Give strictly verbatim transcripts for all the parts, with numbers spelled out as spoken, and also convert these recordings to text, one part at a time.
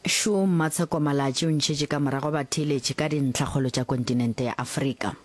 Šo Mmatsheko Malatji o ntšhetše ka morago batheeletši ka dintlhakgolo tša kontinente ya Afrika.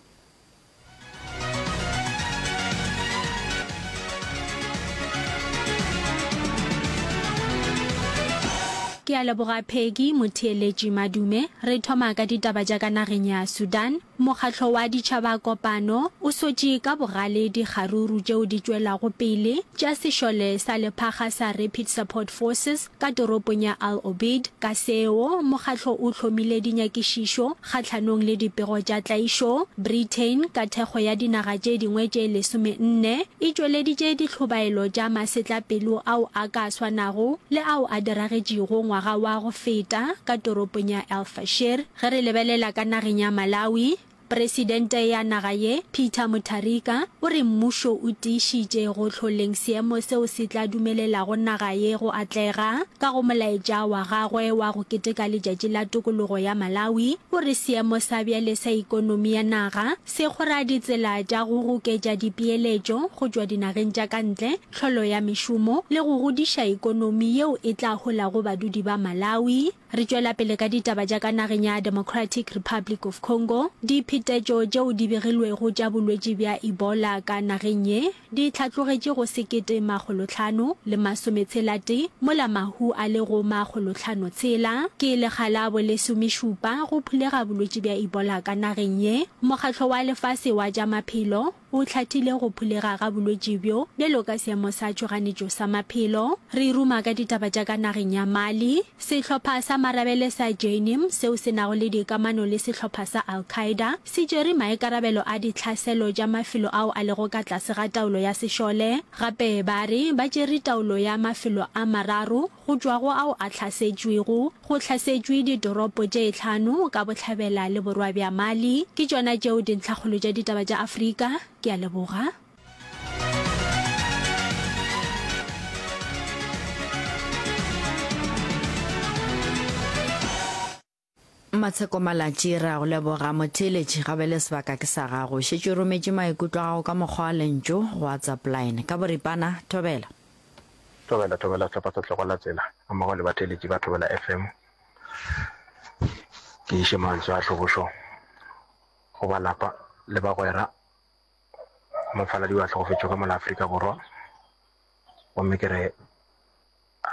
Ke a leboga Peggy, motheeletši Madume. Re thoma ka ditaba tša ka nageng ya Sudan. Mokgatlo wa Ditšhaba Kopano o sotše ka bogale dikgaruru tšeo di tšwelago pele tša sešole sa lephakga sa Rapid Support Forces ka toropong ya Al Obeid. Ka seo, mokgatlo o hlomile dinyakišišo kgahlanong le dipego tša tlaišo. Britain, ka thekgo ya dinaga tše dingwe tše lesome-nne, e tšweleditše dihlobaelo tša masetlapelo ao a ka swanago le ao a diragetšego ngwaga wa go feta ka toropong ya El Fasher. Ge re lebelela ka nageng ya Malawi, Presidente ya naga ye, Peter Mutharika, o re mmušo o tiišitše go hloleng seemo seo se tla dumelelago naga ye go atlega. Ka go molaetša wa gagwe wa go keteka letšatši la tokologo ya Malawi, o re seemo sa bjale sa ikonomi ya naga se kgora ditsela tša go goketša dipeeletšo go tšwa dinageng tša ka ntle, tlholo ya mešomo le go godiša ikonomi yeo e tla holago badudi ba Malawi. Re tšwela pele ka ditaba tša ka nageng ya Democratic Republic of Congo. Diphetetšo tšeo di begilwego tša bolwetši bja Ebola ka nageng ye di hlatlogetše go sekete makgolohlano le masometshela-tee mola mahu a le go makgolohlano-tshela. Ke lekga la bolesomešupa go phulega bolwetši bja Ebola ka nageng ye. Mokgatlo wa Lefase wa tša Maphelo o hlathile go phulega ga bolwetši bjo bjalo ka seemo sa tšhoganetšo sa maphelo. Re ruma ka ditaba tša ka nageng ya Mali. Sehlopha sa marabele sa Jnim, seo se nago le dikamano le sehlopha sa Al-Qaeda, se tšere maikarabelo a ditlhaselo tša mafelo ao a lego ka tlase ga taolo ya sešole. Gape ba re ba tšere taolo ya mafelo a mararo go tšwa go ao a hlasetšwego. Go hlasetšwe ditoropo tše hlano ka bohlabela le borwa bja Mali. Ke tšona tšeo dintlhakgolo tša ditaba tša Afrika. Ke a leboga. Matsheko Malatji, Re a go leboga motheeletši, ga bjale sebaka ke sa gago. Šetše o rometše maikutlo a gago ka mokgwa wa lentšu go WhatsApp line. Ka boripana, thobela. Thobela, thobela sehlopha sa Tlogela Tsela gammogo le batheeletši ba Thobela F M. Ke iše mantswe a tlhobošo go ba lapa le bagwera go mofaladi yo a hlokofetšego ka mola Afrika Borwa. Gomme ke re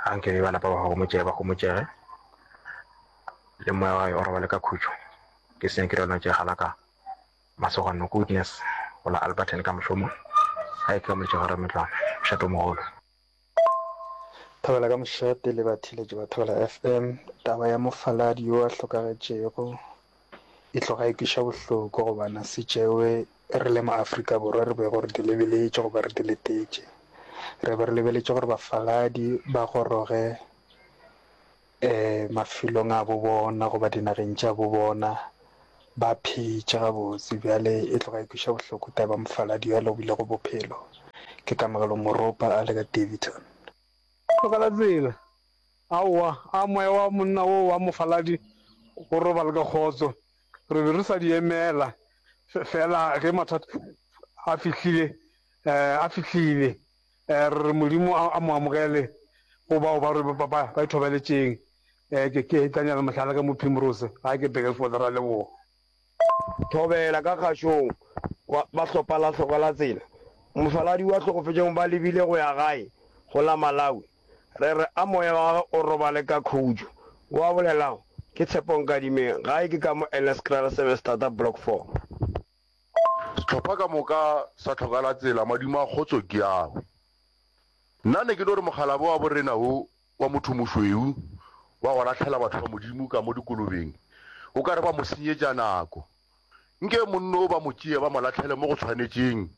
anke be ba lapa ba homotšege, ba homotšege le moya wa o robale ka khutšo. Ke senya ke rona tše galaka masogano goodness go la Alberton ka mošomo. Ga e ke ka moletšego Rametlwana, mošate o mogolo. Thobela ka mošate le batheeletši ba Thobela F M. Taba ya mofaladi yo a hlokagetšego e tloga e kweša bohloko gobane se tšewe re le ma-Afrika Borwa re bego re di lebeletše goba re di letetše. Re be re lebeletše gore bafaladi ba goroge, um mafelong a bo bona goba dinageng tša bo bona ba phetše gabotse. Bjale e tloga e kweša bohloko taba ya mofaladi yo a lobilego bophelo. Ke Kamogelo Moropa a le ka Daveyton. Tlogela tsela. Aowa, a moya wa monna wo wa mofaladi go robale ka kgotso. Re be re sa di emela, feela ge mathata a fihlile, a fihlile, re re Modimo a mo amogele go bao ba ba ba ba ithobaletšeng. Ke ke Daniel Mohlala ka mo Primrose, gae ke Burgersfort, ra leboga. Thobela ka kgašong wa ba hlopha la hloka la tsela. Mofaladi wa hlokofetšego ba lebile go ya gae go la Malawi. Re re a moya wa gagwe o robale ka khutšo. Wa bolelago ke Tshepo Nkadimeng, gae ke ka mo Eleskraal Seven Starter Block four. Sehlopha ka moka sa hloka la tsela, madimo a kgotso ke ao. Nna ne ke no re mokgalabje wa borena wo wa motho mošweu wa go lahlela batho ba Modimo ka mo dikolobeng, o ka re ba mo senyetša nako. Nke monno o ba mo tšee ba mo lahlele mo go tshwanetšeng,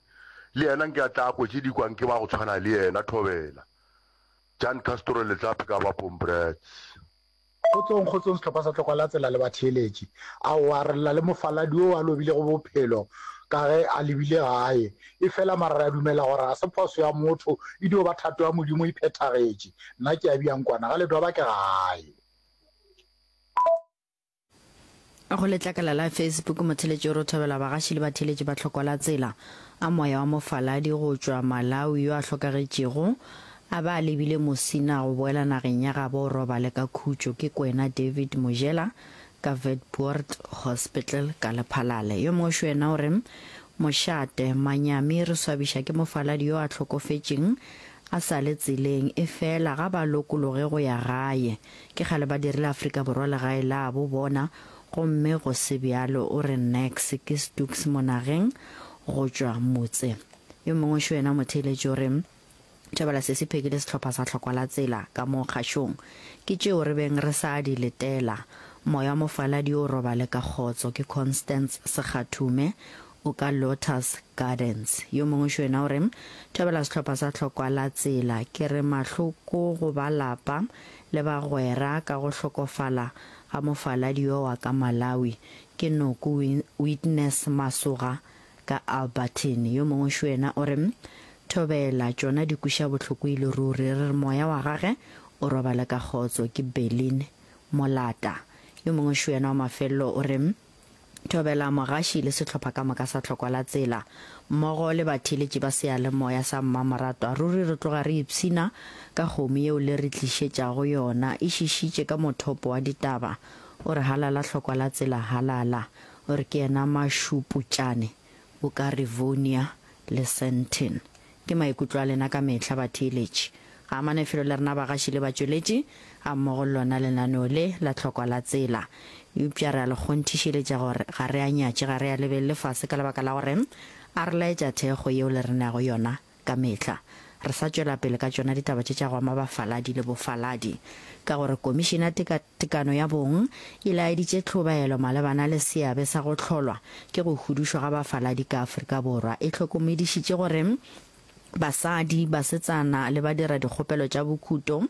le yena nke a tla a kwe tše di kwang ke ba go tshwana le yena. Thobela. Jan Castro Letlape ka ba Pombrets. Kgotsong, kgotsong sehlopha sa Tlokwa la Tsela le batheeletši. Aowa, re lla le mofaladi yo a lobilego bophelo ka ge a lebile gae. Efela mara re a dumela gore ga se phoso ya motho, e dio ba thato ya Modimo e phethagetše. Nna ke a Biankwana, ga Ledwaba ke gae. Go letlakala la Facebook, motheeletši o re o thabela bagaši le batheeletši ba Tlhokwa la Tsela a moya wa mofaladi go tšwa Malawi yo a hlokagetšego a ba a lebile Musina go boela nageng ya gabo o robale ka khutšo ke Kwena David Mojela ka Witpoort Hospital ka Lephalale. Yo mongwe šo yena o re, Mošate, manyami re swabiša ke mofaladi yo a hlokofetšeng a sa le tseleng, efela ga ba lokologe go ya gae. Ke kgale ba dirile Afrika Borwa legae labo bona gomme go se bjalo o re Nex ke Stooks Monageng go tšwa Motse. Yo mongwe šo yena motheeletši o re, Thabela se se phekile sehlopha sa hlokwa la tsela ka mo kgašong. Ke tšeo re beng re sa di letela. Moya wa mofaladi o robale ka kgotso. Ke Constance Sekgathume o ka Lotus Gardens. Yo mongwe šo yena o re, Thabela sehlopha sa hlokwa la tsela. Ke re mahloko go ba lapa le bagwera ka go hlokofala ga mofaladi yo wa ka Malawi. Ke Noko Witness Masoga ka Alberton. Yo mongwe šo yena o re, Thobela, tšona di kweša bohloko e le ruri. Re re moya wa gage o robale ka kgotso. Ke Berlin Molata. Yo mongwe šo yena wa mafelelo o re, Thobela mogaši le sehlopha ka moka sa Tlhokwa la Tsela, mmogo le batheeletši ba seyalemoya sa Mmamoratwa. Ruri re tloga re ipshina ka kgomo yeo le re tlišetšago yona. E šišitše ka mothopo wa ditaba. O re halala Tlhokwa la Tsela halala. O re ke yena Mašuputšane o ka Rivonia le Sandton. Ke maikutlo a lena ka mehla batheeletši. Ga amane felo le rena bagaši le batšweletši gammogo le lona lenaneo le la Tlhokwa la Tsela. Eupša re a le kgonthišeletša gore ga re a nyatše, ga re a lebelele fase ka lebaka la gore a re laetša thekgo yeo le re neago yona ka mehla. Re sa tšwela pele ka tšona ditaba tše tša go ama bafaladi le bofaladi ka gore Komišene ya Tekatekano ya Bong e laeditše tlhobaelo malebana le seabe sa go hlolwa ke go hudušwa ga bafaladi ka Afrika Borwa. E hlokomedišitše gore basadi, basetsana le badiradikgopelo tša bokhuto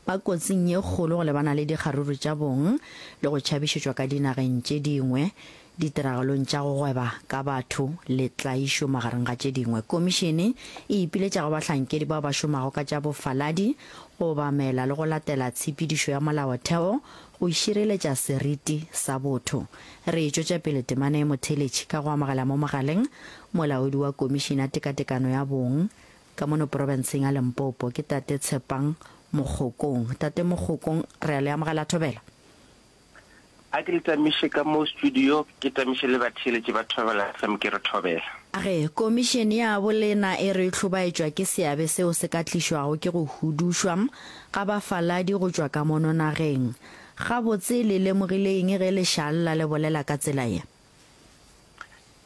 ba kotsing ye kgolo go lebana le dikgaruru tša bong le go tšhabišetšwa ka dinageng tše dingwe ditiragalong tša go gweba ka batho le tlaišo magareng ga tše dingwe. Komišene e ipiletša go bahlankedi bao ba šomago ka tša bofaladi go obamela le go latela tshepedišo ya molaotheo go šireletša seriti sa botho. Re e tšwetša pele temana ye motheeletši ka go amogela mo mogaleng molaodi wa Komišene ya Tekatekano ya Bong ka mono profenseng ya Limpopo ke Tate Tshepang Mokgokong. Tate Mokgokong, re a le amogela Thobela. A ke le tamiše ka mo studio, ke tamiše le batheeletši ba Thobela F M ke re Thobela. A re, Komišene ya bolena e re hlobaetšwa ke seabe seo se ka tlišwago ke go hudušwa ga bafaladi go tšwa ka mono nageng. Gabotse le lemogile eng ge lešalla le bolela ka tsela ye?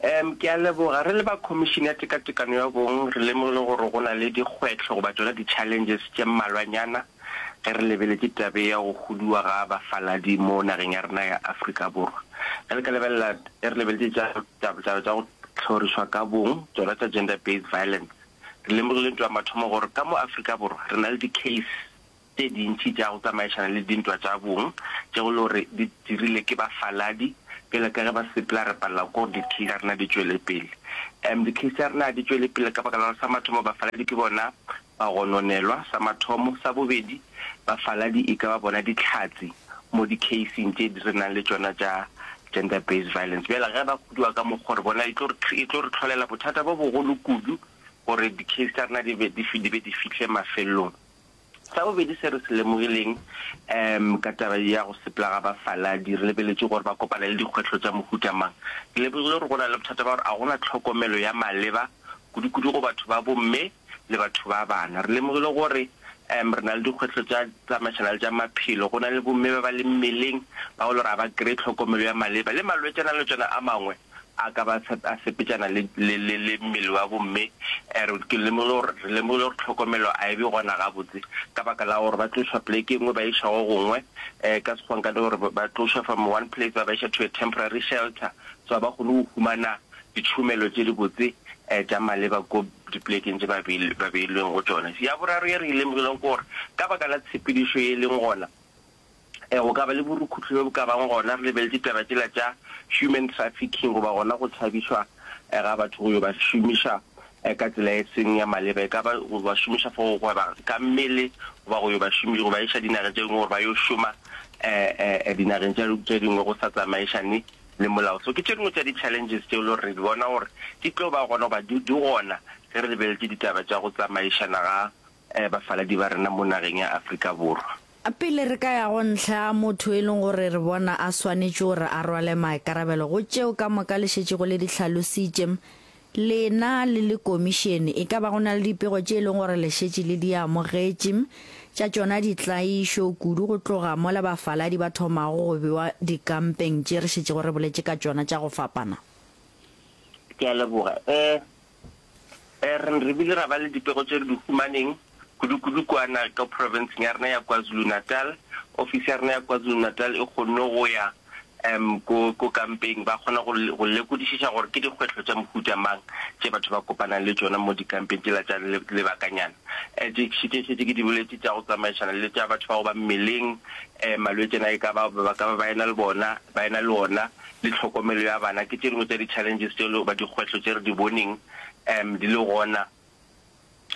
Um ke a leboga. Re le ba Khomišene ya Tekatekano ya Bong re lemogile gore go na le dikgwetlho goba tšona di-challenges tše mmalwanyana ge re lebeletše tabe ya go huduwa ga bafaladi mo nageng ya rena ya Afrika Borwa. Ge le ka lebelela, ge re lebeletše tša taba tša go hlorišwa ka bong, tšona tša gender based violence, re lemogile ntwa ya mathomo gore ka mo Afrika Borwa re na le di-case tše dintši tša go tsamaišana le dintwa tša bong tše go le gore di dirile ke bafaladi. Bjale ka ge ba sepela re palela ke gore di-case tša rena di tšwele pele. Um di-case tša rena di tšwele pele ka baka la gore sa mathomo bafaladi ke bona ba gononelwa, sa mathomo. Sa bobedi, bafaladi e ka ba bona dihlatse mo di-caseng tše re nang le tšona tša gender based violence. Bjale ge ba huduwa ka mokgwa re bona e tlo re e tlo re tlholela bothata bo bogolo kudu gore di-case tša rena di be di di be di fihle mafelelong. Sa bobedi se re se lemogileng um ka taba ya go sepela ga bafaladi, re lebeletše gore ba kopana le dikgwetlho tša mohuta mang. Re lemogile gore go na le bothata ba gore a gona tlhokomelo ya maleba kudu-kudu go batho ba bomme le batho ba bana. Re lemogile gore um re na le dikgwetlho tša tsamaišana le tša maphelo, go na le bomme ba ba le mmeleng ba go le gore ga ba kry-e tlhokomelo ya maleba, le malwetšana le tšona a mangwe a ka ba a sepetšana le le le le mmele wa bomme. Re ke lemogile gore re lemogile gore tlhokomelo a e be gona gabotse ka baka la gore ba tlošwa poleke e nngwe ba išwa go gongwe, um ka Sekgowa nka no gore ba tlošwa from one place ba ba iša to a temporary shelter, so ga ba kgone go humana ditšhomelo tše dibotse um tša maleba ko dipolekeng tše ba ba beilweng go tšona. Ya boraro ye re e lemogileng ke gore ka baka la tshepedišo ye e leng gona, go ka ba le borukhuhli bjo bo ka bang gona. Re lebeletše taba tšela tša human trafficking goba gona go tšhabišwa ga batho go yo ba šomiša ka tsela e seng ya maleba, e ka ba go ba šomiša for go gweba ka mmele goba go yo ba šomiša go ba iša dinageng tše dingwe gore ba yo šoma dinageng tše dingwe go sa tsamaišane le molao. So ke tše dingwe tša di-challenges tšeo le gore re di bona gore di tlo ba gona goba di gona ge re lebeletše ditaba tša go tsamaišana ga bafaladi ba rena mo nageng ya Afrika Borwa. Pele re ka ya go ntlha ya motho e leng gore re bona a swanetše gore a rwale maikarabelo go tšeo ka moka le šetšego le di hlalositše, lena le le komišene, e ka ba go na le dipego tše e leng gore le šetše le di amogetše tša tšona ditlaišo, kudu go tloga mola bafaladi ba thomago go bewa dikampeng tše re šetšego re boletše ka tšona tša go fapana? Ke a leboga. E, e, re, re bile ra ba le dipego tše re di humaneng, kudu-kudu kua na ka profenseng ya rena ya KwaZulu-Natal. Ofisi ya rena ya KwaZulu-Natal e kgonne go ya um ko, ko kampeng, ba kgona go, go lekodišiša gore ke dikgwetlho tša mohuta mang tše batho ba kopanang le tšona mo dikampeng tšela tša le, lebakanyana. Um tše, tše šetše ke di boletše tša go tsamaišana le tša batho ba go ba mmeleng, um malwetši ana e ka ba, ba ka ba ba ena le bona, ba ena le ona, le tlhokomelo ya bana, ke tše dingwe tša di-challenges tše goba dikgwetlho tše re di boneng um di le gona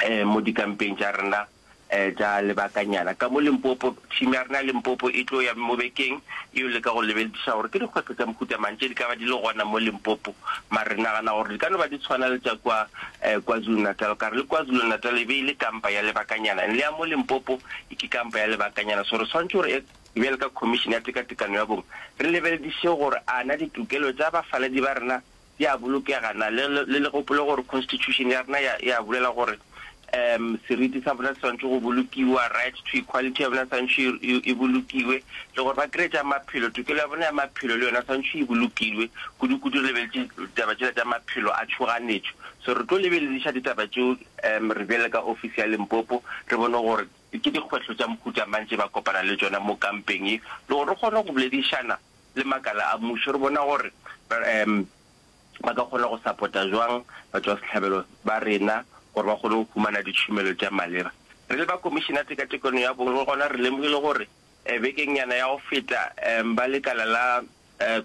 um mo dikampeng tša rena um tša lebakanyana. Ka mo Limpopo, team ya rena ya Limpopo e tlo ya mo bekeng e yo leka go lebelediša gore ke dikgwetlho tša mohuta mang tše di ka ba di le gona mo Limpopo, mara re nagana gore di ka no ba di tshwana le tša kua um KwaZulu-Natal, ka re le KwaZulu-Natal e be e le kampa ya lebakanyana and le ya mo Limpopo e ke kampa ya lebakanyana, so re swanetše gore e Bjalo ka Khomišene ya Tekatekano ya Bong, re lebelediše gore a na ditokelo tša bafaladi ba rena di a bolokega na. Le, le, le gopole gore Constitution ya rena ya, ya bolela gore um seriti sa bona se swanetše go bolokiwa, right to equality ya bona swanetše e, e, e bolokiwe, le gore ba kry-e tša maphelo, tokelo ya bona ya maphelo le yona swanetše e bolokilwe, kudu-kudu re lebeletše ditaba tšela tša maphelo a tšhoganetšo. So re tlo lebelediša ditaba tšeo um re bjale ka ofisi ya Limpopo, re bone gore Ke dikgwetlho tša mohuta mang tše ba kopana le tšona mo kampeng ye, le gore re kgone go boledišana le makala a mmušo re bona gore ba ka kgona go sapota jwang batšwasehlabelo ba rena gore ba kgone go humana ditšhomelo tša maleba. Re le ba Komišene ya Tekatekano ya Bong le gona re lemogile gore bekengnyana ya go feta ba lekala la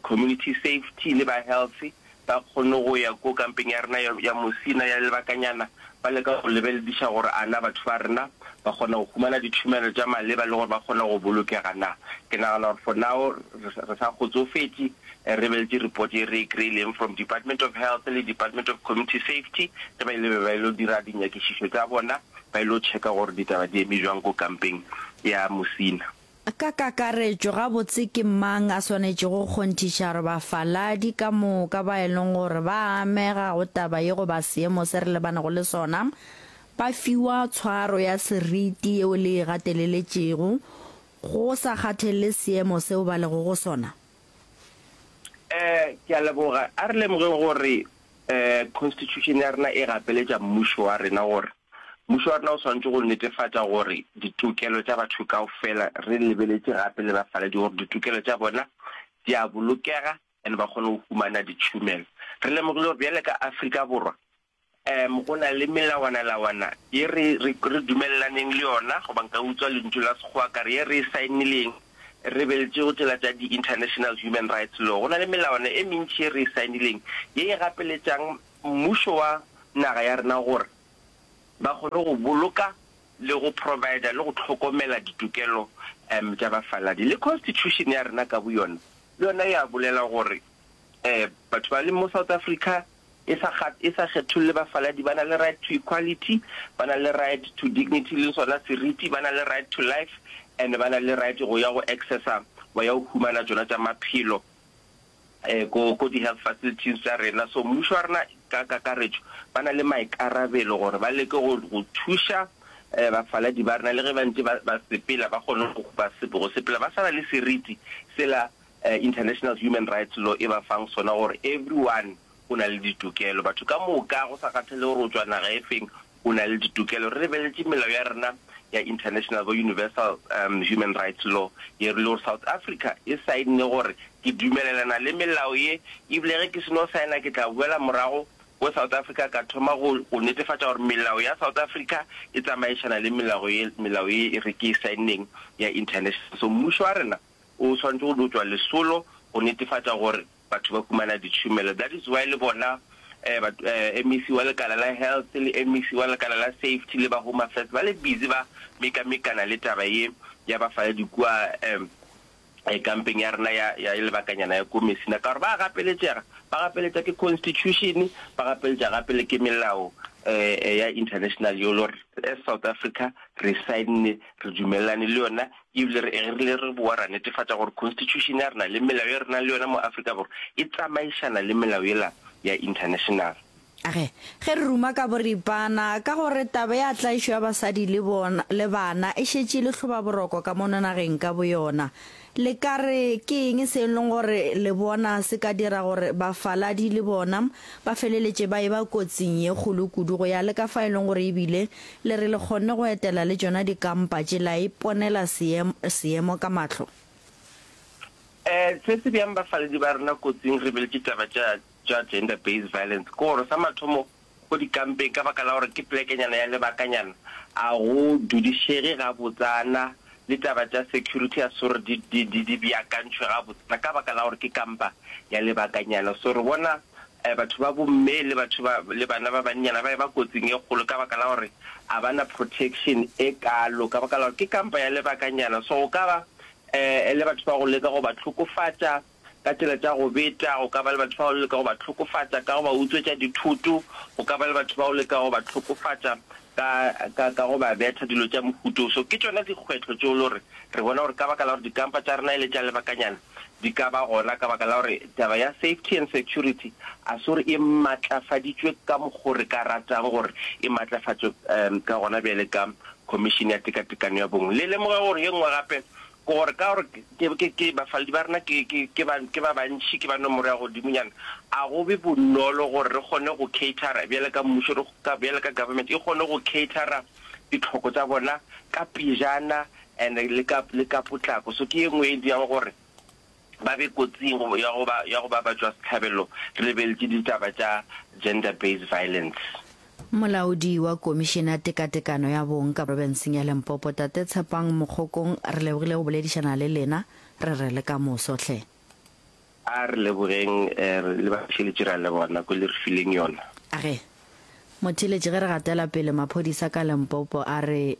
Community Safety le ba Health ba kgone go ya ko kampeng ya rena ya Musina ya lebakanyana ba leka go lebelediša gore a na batho ba rena ba kgona go humana ditšhomelo tša maleba le gore ba kgona go bolokega na. Ke nagana gore for now re sa kgotsofetše re lebeletše report ye re e kry-ileng from Department of Health le Department of Community Safety ge ba ile be ba ilo dira dinyakišišo tša bona ba ilo checka gore ditaba di eme jwang ko kampeng ya Musina. Ka kakaretšo, gabotse ke mang a swanetšego go kgonthiša gore bafaladi ka moka ba e leng gore ba amega go taba ye goba seemo se re lebanego le sona ba fiwa tshwaro ya seriti yeo le e gateleletšego go sa kgathelele seemo seo ba lego go sona? Eh, ke a leboga. A re lemogeng gore eh Constitution ya rena e gapeletša mmušo wa rena gore Mmušo wa rena o swanetše go netefatša gore ditokelo tša batho kaofela, re lebeletše gape le bafaladi gore ditokelo tša bona di a bolokega and ba kgone go humana ditšhomelo. Re lemogile gore bjale ka Afrika Borwa um go na le melawanalawana ye re, re, re dumelelaneng le yona, goba nka utswa lentšu la Sekgowa ka re ye re e saenileng, re lebeletše go tšela tša di-International Human Rights Law. Go na le melawana e mentši ye re e saenileng ye e gapeletšang mmušo wa naga ya rena gore ba kgone go boloka le go provider le go hlokomela ditokelo um tša bafaladi. Le constitution ya rena ka boyona le yona ya bolela gore um batho ba leng mo South Africa e sa e sa kgetholle bafaladi, ba na le right to equality, ba na le right to dignity le sona seriti, ba na le right to life and ba na le right go ya go accessa ba ya go humana tšona tša maphelo. ko, ko di-health facilities tša rena. So mmušo wa rena ka kakaretšo ba na le maikarabelo gore ba leke go, go thuša um bafaladi ba rena le ge ba ntše ba, ba sepela ba kgone go, ba sepe, go sepela ba sa na le seriti sela um International Human Rights Law e ba fang sona gore everyone o na le ditokelo. Batho ka moka go sa kgathale gore o tšwa naga e feng o na le ditokelo. Re lebeletše melao ya rena ya international bo universal um human rights law ye re le gore South Africa e saenne gore ke dumelelana le melao ye ebile ge ke seno saena ke tla boela morago ko South Africa ka thoma go go netefatša gore melao ya South Africa e tsamaišana le melao ye melao ye re ke e saenneng ya international. So mmušo wa rena o swanetše go no tšwa lesolo go netefatša gore batho ba humana ditšhomelo. That is why le bona M E C wa lekala la Health le M E C wa lekala la Safety le ba Home Affairs ba le busy ba mekamekana le taba ye ya bafaladi kua kampeng ya rena ya ya lebakanyana ya ko Messina ka gore ba gapeletšega Ba gapeletša ke constitution, ba gapeletša gape le ke melao ya international yeo le gore as South Africa re saenne, re dumelelane le yona, ebile re re rile re bowa ra netefatša gore constitution ya rena le melao ye re nang le yona mo Afrika Borwa e tsamaišana le melao yela ya international. Ge, ge re ruma ka boripana, ka gore taba ya tlaišo ya basadi le bona, le bana e šetše e le hlobaboroko ka mono nageng ka boyona. Le ka re ke eng se e leng gore le bona se ka dira gore bafaladi le bona ba feleletše ba eba kotsing ye kgolo kudu go ya le ka fa e leng gore ebile le re le kgonne go etela le tšona dikampa tše la iponela seemo, seemo ka mahlo? Um se se beang bafaladi ba rena kotsing re beletše taba tša, tša gender based violence ke gore sa mathomo ko dikampeng ka baka la gore ke plekenyana ya lebakanyana a go dudišege gabotsana le taba tša security a se gore di, di, di, di beakantšhwe gabotsana ka baka la gore ke kampa ya lebakanyana. So re bona eh, batho ba bomme le batho ba, le bana ba bannyana ba eba kotsing e kgolo ka baka la gore a ba na protection e kalo ka baka la gore ke kampa ya lebakanyana. So go ka ba eh, le batho ba go leka go ba hlokofatša ka tsela tša go beta, go ka ba le batho ba go leka go ba hlokofatša ka go ba utswetša dithoto, go ka ba le batho ba go leka go ba hlokofatša ka, ka, ka go ba betha, dilo tša mohuta wo. So ke tšona dikgwetlho tšeo le gore re bona gore ka baka la gore dikampa tša rena e le tša lebakanyana, di ka ba gona ka baka la gore taba ya safety and security a se gore e matlafaditšwe ka mokgo re ka ratang gore e matlafatšwe um ka gona bjale ka Khomišene ya Tekatekano ya Bong. Le lemoge gore ye nngwe gape ke gore ka gore ke, ke, ke bafaladi ba rena ke, ke, ke ba, ke ba bantši, ke ba nomoro ya godimonyana, a go be bonolo gore re kgone go cater-a bjale ka mmušo, re, ka, bjale ka government e kgone go cater-a ditlhoko tša bona ka pejana and le ka, le ka potlako. So ke ye nngwe e dirang gore ba be kotsing ya go ba, ya go ba batšwasehlabelo re lebeletše ditaba tša gender based violence. Molaodi wa Komišene ya Tekatekano ya Bong ka Profenseng ya Limpopo, Tate Tshepang Mokgokong, re lebogile go boledišana le lena, re re le ka moso hle. A re lebogeng le batheeletši, re a leboga nako e le re fileng yona. Ge. Motheeletši, ge re gatela pele, maphodisa ka Limpopo a re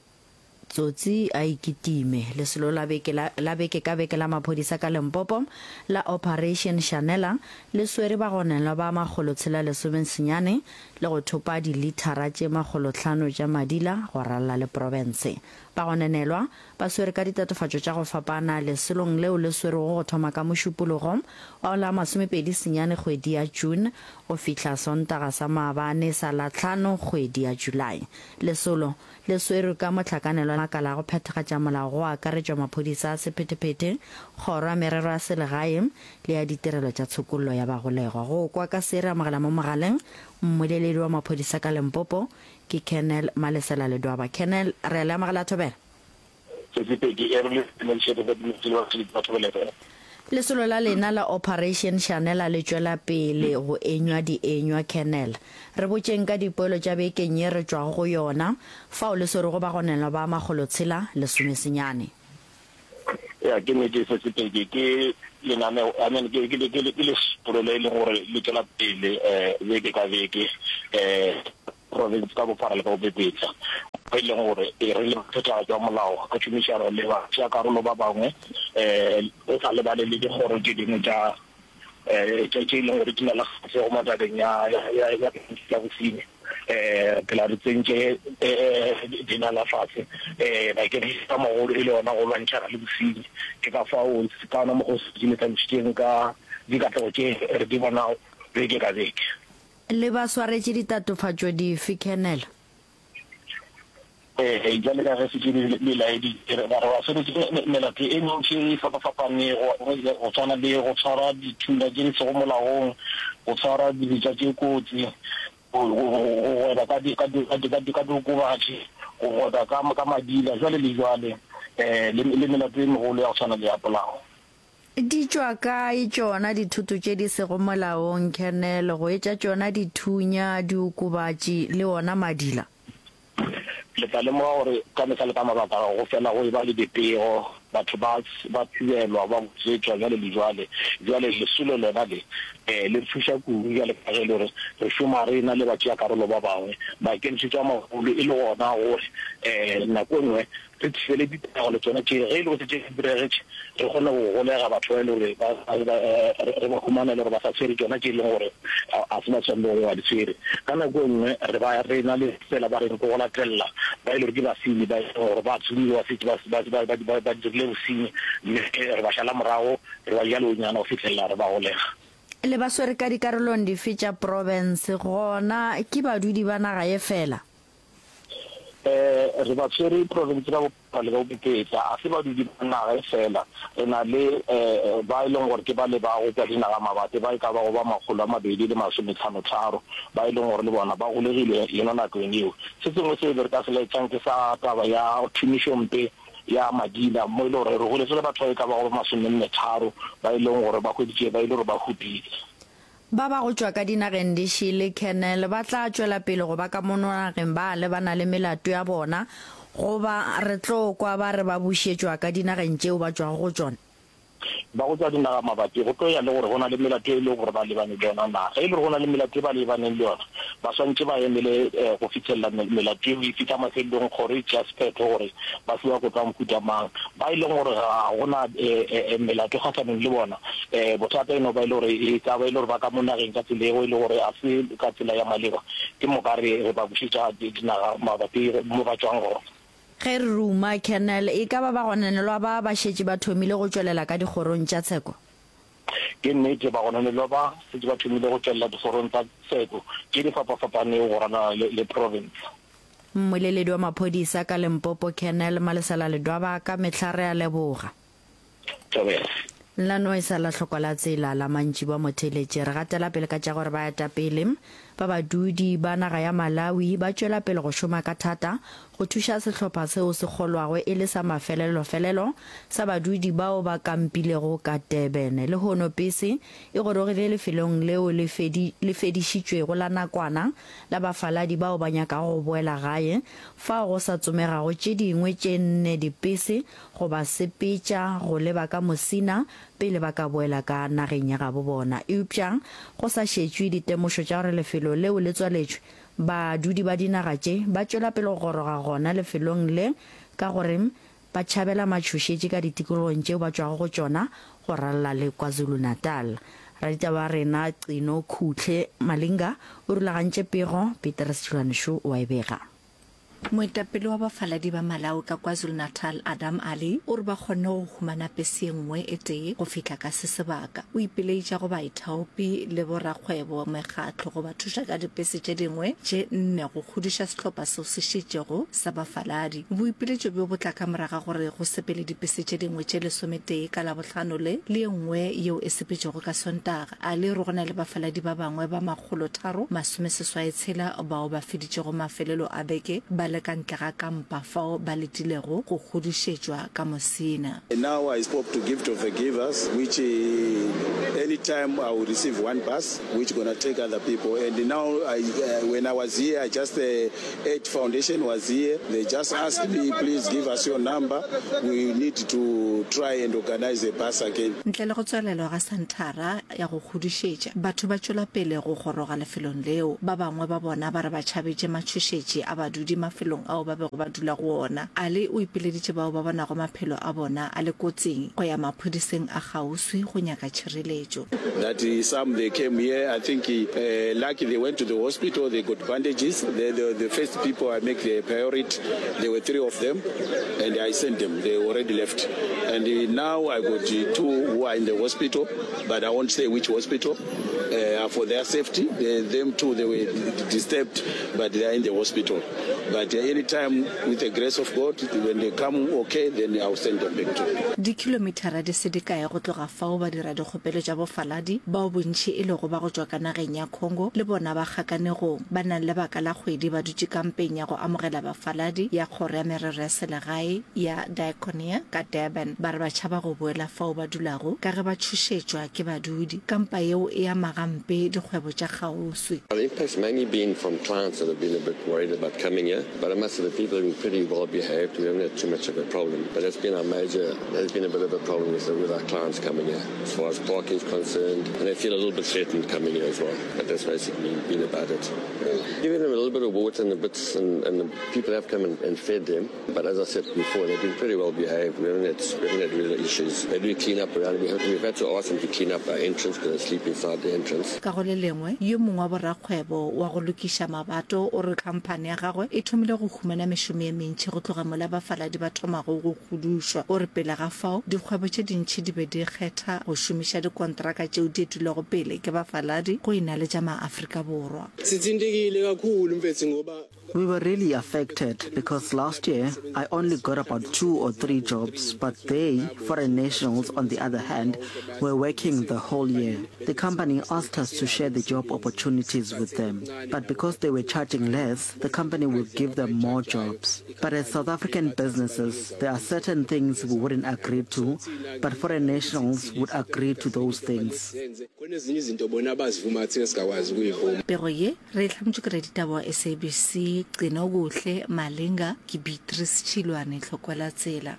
Tsotsi a e kitime. Lesolo la beke la la beke ka beke la maphodisa ka Limpopo la Operation Shanela le swere bagonelwa ba makgolotshela lesomesenyane le go thopa dilithara tše makgolohlano tša madila go ralala le profense. Bagonenelwa ba swere ka ditatofatšo tša go fapana lesolong leo le swerwego go thoma ka Mošupologo wa la masomepedi senyane kgwedi ya June go fihla Sontaga sa maabane sa la hlano kgwedi ya July. Lesolo Le swerwe ka mohlakanelwa le makala a go phethagatša molao go akaretšwa maphodisa a sephethephethe, kgoro ya merero ya selegae le ya ditirelo tša tshokollo ya bagolegwa. Go kwa ka se re amogela mo mogaleng mmoleledi wa maphodisa ka Limpopo ke Colonel Malesela Ledwaba. Colonel, re a le amogela Thobela. Sesi Peggy, e re le dumediše re dumeditše le batheeletši ba Thobela F M. Lesolo la lena la Operation Shanela le tšwela pele go enywa dienywa, Colonel. Re botšeng ka dipoelo tša bekeng ye re tšwago go yona, fao le swerego bagonelwa ba makgolotshela lesomesenyane. Ya, ke nnete se Sepedi, ke lenaneo, I mean, ke, ke, ke, ke lesolo le e leng gore le tšwela pele um beke ka beke um province ka bophara le ka bopepetla, mo e leng gore re le phethagatšo ya molao ka tšhomišano le batšeakarolo ba bangwe um go sa lebale le dikgoro tše dingwe tša tše tše e leng gore di na le kgahlego mo tabeng ya ya ya ya bosenyi. Um phela re tsentše dinala fase um bakeng sa mogolo e le yona go lwantšhana le bosenyi. Ke ka fao ka ona mokgwa o šetše le hlalošitšeng ka dikatlego tše re di bonago beke ka beke. Le ba swaretše ditatofatšo dife, Colonel? Ee, bjale ka ge šetše le, le laeditše, re ba, re ba swaretše melato e mentši e fapafapanego, go swana le go tshwara dithunya tše di sego molaong, go tshwara dibetša tše kotsi, go, go, go gweba ka di, ka di, ka di, ka di, ka diokobatši, go gweba ka, ka madila, jwale le jwale, um le, le melato e megolo ya go swana le ya polao. Di tšwa kae tšona dithoto tše di sego molaong, Colonel, go etša tšona dithunya, diokobatši le ona madila? Le tla lemoga gore ka mehla le ka mabaka go fela go eba le dipego Batho ba ba thibelwa, ba botšetšwa bjale le bjale. Bjale lesolo lona le, le re thuša kudu bjale ka ge e le gore re šoma re na le batšeakarolo ba bangwe. Maikemišetšo a magolo e le gona gore nako e nngwe re thibele ditiragalo tšona tše, ge e le gore tše di diregetše, re kgone go golega batho ba e le gore ba, re ba humana e le gore ba sa tshwere tšona tše e leng gore ga se ba swanelo gore ba di tshwere. Ka nako e nngwe re ba re na le tsela ba reng ke go latelela ba e le gore ke basenyi ba e leng gore ba tsomiwa ba šetše ba, ba, ba, ba, ba dirile bosenyi, mme re ba šala morago, re ba ja leonyana go fihlelela re ba golega. Le ba swere ka dikarolong dife tša profense, gona ke badudi ba naga ye feela? Re ba tshwere profense ka bophara le ka bopepetla, ga se badudi ba naga ye feela. Re na le ba e leng gore ke ba le ba go tšwa dinagamabapi ba e ka bago ba makgolo a mabedi le masometlhano-tharo ba e leng gore le bona ba golegile yona nakong yeo. Se sengwe seo re ka se laetšang ke sa taba ya tšhomišompe ya madila mo e le gore re golegile batho ba e ka bago ba masomenne-tharo ba e leng gore ba hweditše ba e le gore ba hupile. Ba ba go tšwa ka dinageng di šele, Colonel, ba tla tšwela pele go ba ka mono nageng ba lebana le melato ya bona, goba re tlo kwa ba re ba bušetšwa ka dinageng tšeo ba tšwago go tšona? Ba go tšwa dinaga mabapi, go tlo ya le gore go na le melato e lego gore ba lebane le yona na. Ge e le gore go na le melato e ba lebaneng le yona, ba swanetše ba emele go fihlelela melato yeo e fihla mafelelong, kgoro e tšea sephetho gore ba fiwa kotlo ya mohuta mang. Ba e leng gore ga go na melato kgahlanong le bona, bothata e no ba e le gore e ka ba e le gore ba ka mo nageng ka tsela yeo e le gore ga se ka tsela ya maleba, ke moka re re ba bušetša dinaga mabapi mo ba tšwang gona. Ge re ruma, Colonel, e ka ba bagononelwa ba ba šetše ba thomile go tšwelela ka dikgorong tša tsheko? Ke nnete, bagononelwa ba šetše ba thomile go tšwelela dikgorong tsa tsheko tše di fapafapanego go ralala le province. Mmoleledi wa maphodisa ka Limpopo Colonel Malesela Ledwaba ka mehla re a leboga. Thobela. La no e sa la hlokwa la tsela la mantšiboa motheeletši. Re gatela pele ka tša gore baetapele ba badudi ba naga ya Malawi ba tšwela pele go šoma ka thata go thuša sehlopha seo se kgolwago e le sa mafelelofelelo sa badudi bao ba kampilego ka Durban. Lehono pese e gorogile lefelong leo le le fedišitšwego la nakwana la bafaladi bao ba nyakago go boela gae, fao go sa tsomegago tše dingwe tše nne dipese go ba sepetša go leba ka Musina pele ba ka boela ka nageng ya gabo bona. Eupša go sa šetšwe ditemošo tša gore lefelo leo le tswaletšwe, badudi ba dinaga tše ba tšwela pele go goroga gona lefelong le ka gore ba tšhabela matšhošetši ka ditikologong tšeo ba tšwago go tšona go ralala le KwaZulu-Natal. Raditaba wa rena Qino Khutle Malinga o rulagantše pego, Petrus Tšhilwane-Shu o a e bega. Moetapele wa bafaladi ba Malawi ka KwaZulu-Natal Adam Ali o re ba kgonne go humana pese ye nngwe e tee go fihla ka se sebaka. O ipileitša go baithaopi le borakgwebo mekgatlo go ba thuša ka dipese tše dingwe tše nne go kgodiša sehlopha seo se šetšego sa bafaladi. Boipiletšo bjo bo tla ka moraga gore go sepele dipese tše dingwe tše lesometee ka Labohlano le le ye nngwe yeo e sepetšego ka Sontaga. A le re go na le bafaladi ba bangwe ba makgolotharo masomeseswai tshela bao ba feditšego mafelelo a beke ba le ka ntle ga kampa fao ba letilego go kgodišetšwa ka Musina. Now I spoke to Gift of the Givers which any time I will receive one bus which gonna take other people and now I when I was here I just Aid Foundation was here they just asked me please give us your number we need to try and organize a bus again. Ntle le go tswalelwa ga senthara ya go kgodišetša, batho ba tšwela pele go goroga lefelong leo. Ba bangwe ba bona ba re ba tšhabetše matšhošetši a badudi mafelong ao ba bego ba dula go ona. Ali o ipileditše bao ba bonago maphelo a bona a le kotsing go ya maphodiseng a kgauswi go nyaka tšhireletšo. That some they came here I think lucky they went to the hospital they got bandages the, the, the first people I make the priority there were three of them and I sent them they already left and now I got two who are in the hospital but I won't say which hospital uh, for their safety they, them too they were disturbed but they are in the hospital but uh, anytime with the grace of God when they come okay then I'll send them back to Dikhilomithara di se dikae go tloga fao badiradikgopelo tša bofaladi, bao bontši e lego ba go tšwa ka nageng ya Congo, le bona ba kgakanegong. Ba na le lebaka la kgwedi ba dutše kampeng ya go amogela bafaladi ya Kgoro ya Merero ya Selegae ya Diaconia ka Durban. Ba re ba tšhaba go boela fao ba dulago ka ge ba tšhošetšwa ke badudi. Kampa yeo e ama gampe dikgwebo tša kgauswi. The impact's mainly been from clients that have been a bit worried about coming here. But I must say the people have been pretty well behaved. We haven't had too much of a problem. But that's been our major, that's been a bit of a problem with, the, with our clients coming here as far as parking is concerned. And they feel a little bit threatened coming here as well. But that's basically been about it. Yeah. Giving them a little bit of water and the bits, and, and the people have come and, and fed them. But as I said before, they've been pretty well behaved. We haven't had, we haven't had real issues. They do clean up around. We have, we've had to ask them to clean up our entrance because they sleep inside the entrance. Ka go le lengwe, yo mongwe wa borakgwebo wa go lokiša mabato o re khamphani ya gagwe e thomile go humana mešomo ye mentši go tloga mola bafaladi ba thomago go hudušwa. O re pele ga fao, dikgwebo tše dintši di be di kgetha go šomiša dikontraka tšeo di etilwego pele ke bafaladi go e na le tša maAfrika Borwa. Sithintekile kakhulu mfethu ngoba We were really affected because last year I only got about two or three jobs, but they, foreign nationals on the other hand, were working the whole year. The company asked us to share the job opportunities with them, but because they were charging less, the company would give them more jobs. But as South African businesses, there are certain things we wouldn't agree to, but foreign nationals would agree to those things. Khona ezinye izinto bona abazivuma thina singakwazi ukuyivuma. Pego ye re e hlametšwe ke raditaba wa S A B C Gcinokuhle Malinga ke Beatrice Tšhilwane Tlhokwela Tsela.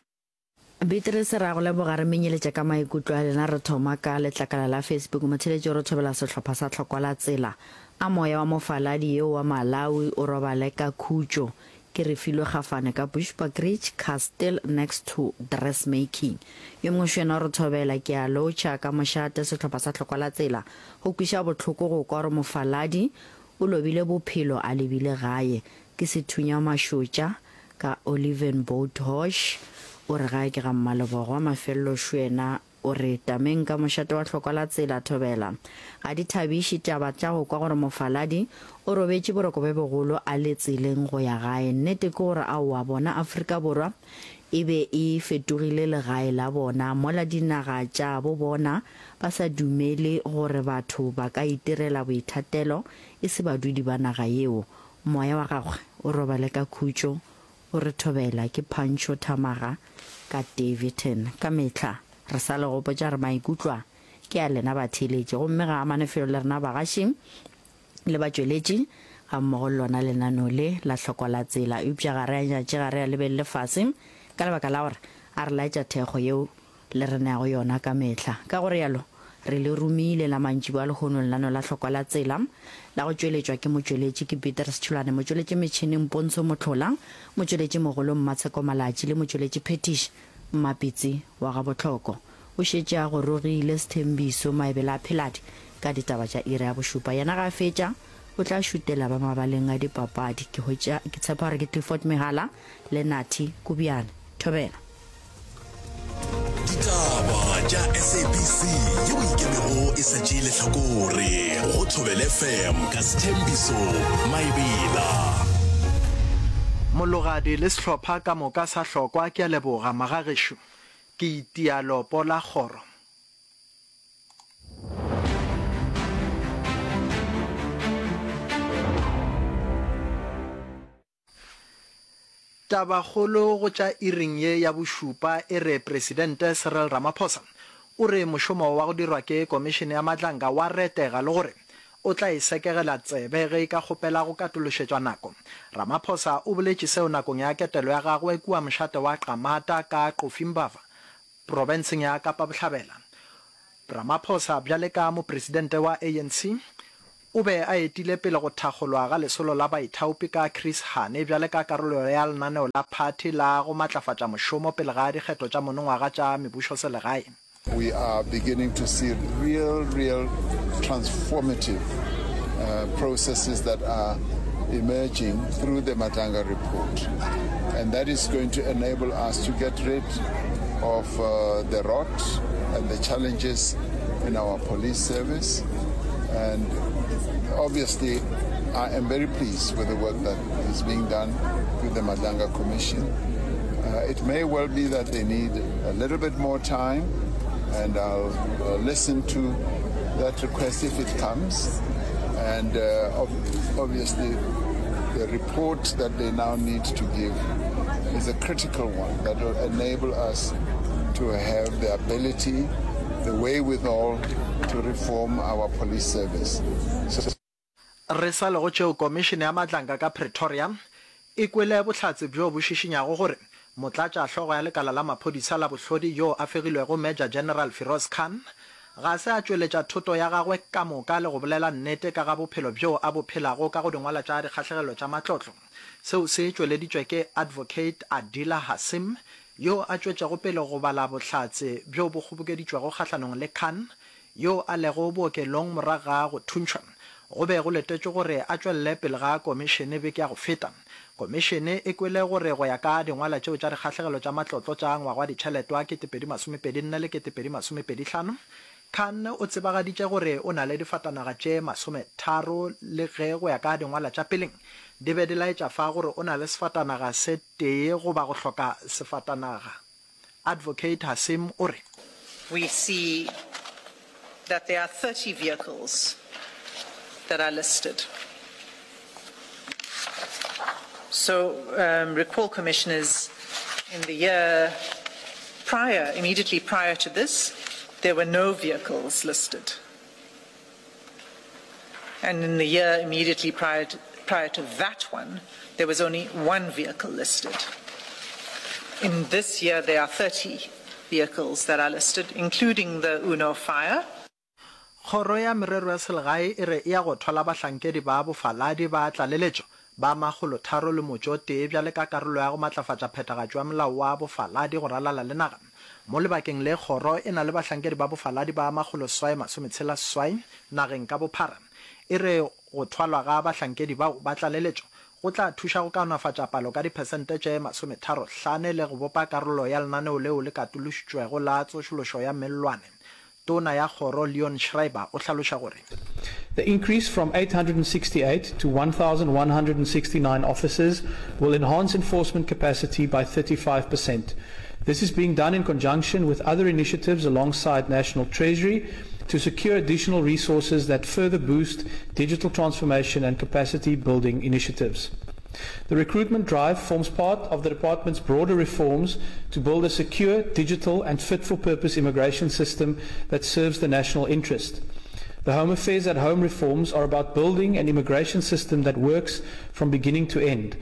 Beatrice, ra go leboga, re menyeletša ka maikutlo a lena. Re thoma ka letlakala la Facebook. Motheletši o re thobela sehlopha sa Tlhokwela Tsela. A moya wa mofaladi yeo wa Malawi o robale ka khutšo. Ke re filwe gafane ka Bushbuckridge Castle next to dressmaking. Yo mongwe šo yena o re thobela ke a lotšha ka mošate sehlopha sa Tlhokwela Tsela. Go kweša bohloko go kwa gore mofaladi o lobile bophelo a lebile gae. Ke sethunya mašotša ka Olivenboat Hosh. O re gae ke ga Mmalebogo. Mafelelo šo yena o re tameng ka mošate wa Tlhokwela Tsela thobela. Ga di thabiše taba tša go kwa gore mofaladi o robetše boroko bjo bogolo a le tseleng go ya gae. Nnete ke gore aowa bona Afrika Borwa e be e fetogile legae la bona mola dinaga tša bo bona ba sa dumele gore batho ba ka itirela boithatelo e se badudi ba naga yeo. Moya wa gagwe o robale ka khutšo, o re thobela ke Pancho Thamaga ka Daveyton. Ka mehla re sa le gopotša re maikutlwa ke a lena batheeletši, gomme ga amane felo le rena bagaši le batšweletši ga mmogo le lona lenaneo le la Tlhokwela Tsela. Eupša ga re a nyatše, ga re a lebelele fase ka lebaka la gore a re laetša thekgo yeo le re neago yona ka mehla. Ka go rialo re le romile la mantšiboa a lehono lenaneo la Tlhokwela Tsela la go tšweletšwa ke motšweletši ke Petrus Tšholane, motšweletši metšhineng Pontsho Mohlola, motšweletši mogolo Mmatsheko Malatši le motšweletši Phetiš Mmapitsi wa ga Bohloko. O šetše a gorogile Sethembiso Maebela a Pheladi ka ditaba tša iri ya bošupa. Yena ga a fetša o tla šutela ba mabaleng a dipapadi. Ke hwetša ke tshepa gore ke Clifford Mehala le Nathi Kubiane. Thobela. Ditaba tša S A B C yeo e ikemego e sa tšee lehlakore go Thobela F M ka Sethembiso Maebela. Mologadi le sehlopha ka moka sa hlokwa ke a leboga magagešo. Ke itia lopo la kgoro. Tabakgolo go tša iring ye ya bošupa e re Presidente Cyril Ramaphosa o re mošomo wa go dirwa ke Komišene ya Madlanga wa retega le gore o tla e sekegela tsebe ge e ka kgopela go katološetšwa nako. Ramaphosa o boletše seo nakong ya ketelo ya gagwe kua mošate wa Qamata ka Qofimbava, profenseng ya Kapa Bohlabela. Ramaphosa bjale ka mopresidente wa A N C o be a etile pele go thakgolwa ga lesolo la baithaopi ka Chris Hani bjale ka karolo ya lenaneo la phathi la go matlafatša mošomo pele ga dikgetho tša monongwaga tša mebušoselegae. We are beginning to see real, real transformative, uh, processes that are emerging through the Madlanga report. And that is going to enable us to get rid of, uh, the rot and the challenges in our police service. And obviously, I am very pleased with the work that is being done through the Madlanga Commission. Uh, it may well be that they need a little bit more time, and I'll, uh, listen to that request if it comes. And, uh, ob-, obviously, the report that they now need to give is a critical one that will enable us to have the ability, the wherewithal to reform our police service. So Re sa le go tšeo Komišene ya Madlanga ka Pretoria E kwele bohlatse bjo bo šišinyago gore Motlatšahlogo ya Lekala la Maphodisa la Bohlodi yo a fegilwego Major General Firoz Khan ga se a tšweletša thoto ya gagwe ka moka le go bolela nnete ka ga bophelo bjo a bo phelago ka go dingwala tša dikgahlegelo tša matlotlo. Seo se tšweleditšwe ke Advocate Adila Hassim yo a tšwetšego pele go bala bohlatse bjo bo kgobokeditšwego kgahlanong le Khan yo a lego bookelong morago ga go thuntšhwa. Go be go letetšwe gore a tšwelele pele ga komišene beke ya go feta. Komišene e kwele gore go ya ka dingwala tšeo tša dikgahlegelo tša matlotlo tša ngwaga wa ditšhelete wa kete pedi masomepedi nne le kete pedi masomepedi hlano, Khan o tsebagaditše gore o na le difatanaga tše masometharo le ge go ya ka dingwala tša peleng di be di laetša fa gore o na le sefatanaga se tee goba go hloka sefatanaga. Advocate Hassim o re. We see that there are thirty vehicles that are listed. So, um, recall, commissioners, in the year prior, immediately prior to this, there were no vehicles listed. And in the year immediately prior to, prior to that one, there was only one vehicle listed. In this year, there are thirty vehicles that are listed, including the Uno Fire. Kgoro ya Merero ya Selegae e re e ya go thwala bahlankedi ba bofaladi ba tlaleletšo ba makgolotharo le motšo o tee bjale ka karolo ya go matlafatša phethagatšo ya molao wa bofaladi go ralala le naga. Mo lebakeng le kgoro e na le bahlankedi ba bofaladi ba makgoloseswai masometshela seswai nageng ka bophara. E re go thwalwa ga bahlankedi bao ba tlaleletšo go tla thuša go kaonafatša palo ka diphesente tše masometharo hlane le go bopa karolo ya lenaneo leo le katološitšwego la tsošološo ya mellwane. Tona ya Kgoro Leon Schreiber o hlaloša gore. The increase from eight hundred and sixty-eight to one thousand one hundred and sixty-nine officers will enhance enforcement capacity by thirty-five percent. This is being done in conjunction with other initiatives alongside National Treasury to secure additional resources that further boost digital transformation and capacity building initiatives. The recruitment drive forms part of the department's broader reforms to build a secure, digital and fit-for-purpose immigration system that serves the national interest. The Home Affairs at Home reforms are about building an immigration system that works from beginning to end.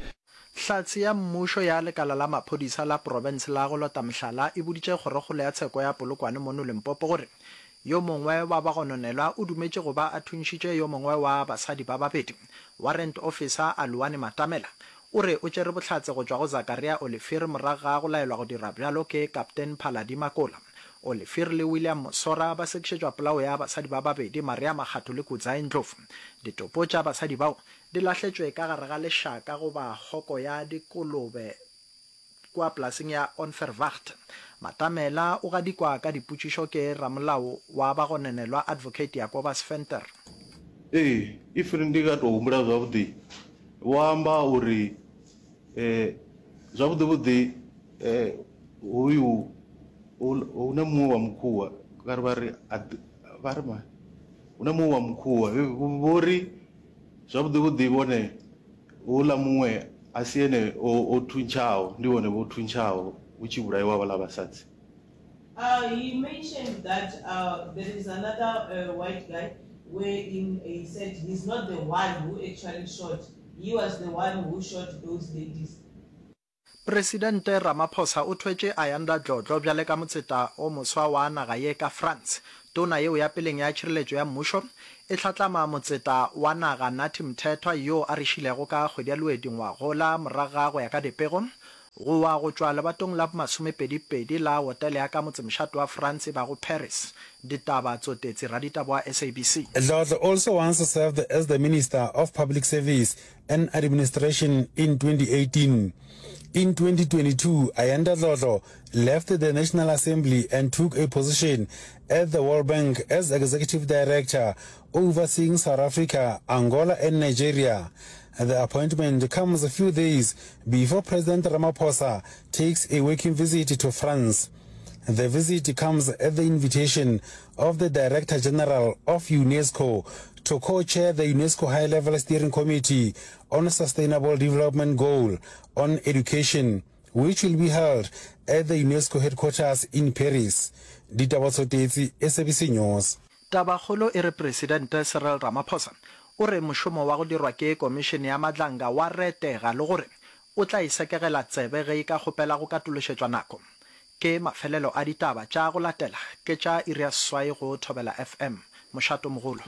Hlatse ya mmušo ya lekala la maphodisa la profense la go lota mohlala e boditše kgorokgolo ya tsheko ya Polokwane mono Limpopo gore yo mongwe wa bagononelwa o dumetše go ba a thuntšhitše yo mongwe wa basadi ba babedi. Warrant Officer Aluwani Matamela o re o tšere bohlatse go tšwa go Zakaria Olivier morago ga go laelwa go dira bjalo ke Kaptein Phaladi Makola. Olivier le William Mosora ba sekišetšwa polao ya basadi ba babedi, Maria Makgatho le Kudzai Ndlovu. Ditopo tša basadi bao di lahletšwe ka gare ga lešaka goba hoko ya dikolobe kua polaseng ya Onverwacht. Matamela o gadikwa ka dipotšišo ke ramolao wa bagononelwa Advocate Jacobus Venter. Ee, if ndi nga tou humbula zwavhuḓi, vho amba uri zwavhuḓi vhuḓi hoyu hu na muṅwe wa mukhuwa kare vha ri vha ri hu na muṅwe wa mukhuwa vho ri zwavhuḓi vhuḓi vhone houḽa muṅwe a si ene o thuntshaho ndi vhone vho thuntshaho hu tshi vhulaiwa vhaḽa vhasadzi. Uh, he mentioned that uh, there is another uh, white guy wherein he said he's not the one who actually shot. He was the one who shot those ladies. Presidente Ramaphosa o thwetše Ayanda Dlodlo bjale ka motseta o moswa wa naga ye ka France. Tona yeo ya peleng ya tšhireletšo ya mmušo e hlatlama motseta wa naga Nathi Mthethwa yo a re šilego ka kgwedi ya Lwedi ngwagola morago ga go ya ka dipego go wa go tšwa lebatong la bomasomepedi-pedi la hotele ya ka motsemošate wa France e bago Paris. Ditaba Tsotetsi, raditaba wa S A B C. Dlodlo also once served as the Minister of Public Service and Administration in twenty eighteen. In twenty twenty-two, Ayanda Dlodlo left the National Assembly and took a position at the World Bank as Executive Director overseeing South Africa, Angola and Nigeria. The appointment comes a few days before President Ramaphosa takes a working visit to France. The visit comes at the invitation of the Director General of UNESCO to co-chair the UNESCO High-Level Steering Committee on Sustainable Development Goal on Education, which will be held at the UNESCO headquarters in Paris. Ditaba Tsotetsi, S A B C News. Tabakgolo e re Presidente Cyril Ramaphosa o re mošomo wa go dirwa ke Komišene ya Madlanga wa retega le gore o tla e sekegela tsebe ge e ka kgopela go katološetšwa nako. Ke mafelelo a ditaba tša go latela ke tša iri ya seswai go Thobela FM. Mošatomogolo.